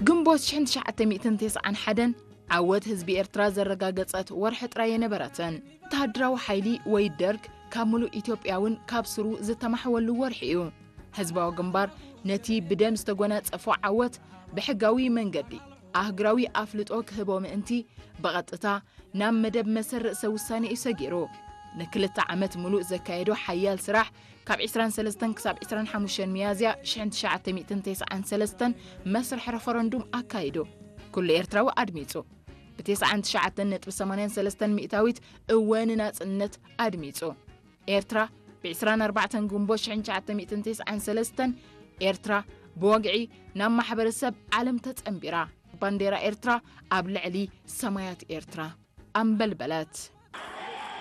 ግንቦት ሽሕን ትሽዓተ ሚእትን ተስዓን ሓደን ዓወት ህዝቢ ኤርትራ ዘረጋገጸት ወርሒ ጥራይ የነበረትን። ወተሃደራዊ ሓይሊ ወይ ደርግ ካብ ምሉእ ኢትዮጵያ እውን ካብ ስሩ ዝተማሕወሉ ወርሒ እዩ። ህዝባዊ ግንባር ነቲ ብደም ዝተጎናጸፎ ዓወት ብሕጋዊ መንገዲ ኣህግራዊ ኣፍልጦ ክህቦ ምእንቲ ብቐጥታ ናብ መደብ መሰል ርእሰ ውሳኔ እዩ ሰጊሩ። ንክልተ ዓመት ምሉእ ዘካየዶ ሓያል ስራሕ ካብ ዕስራን ሰለስተን ክሳብ ዕስራን ሓሙሽተን ሚያዝያ ሽሕን ትሽዓተ ሚእትን ተስዓን ሰለስተን መስርሕ ረፈረንዱም ኣካይዱ። ኩሉ ኤርትራዊ ኣድሚጹ። ብተስዓን ትሽዓተን ነጥቢ ሰማንያን ሰለስተን ሚእታዊት እወ ንናጽነት ኣድሚጹ። ኤርትራ ብ ዕስራን ኣርባዕተን ግንቦት ሽሕን ትሽዓተ ሚእትን ተስዓን ሰለስተን ኤርትራ ብወግዒ ናብ ማሕበረሰብ ዓለም ተጸንቢራ። ባንዴራ ኤርትራ ኣብ ልዕሊ ሰማያት ኤርትራ ኣንበልበለት።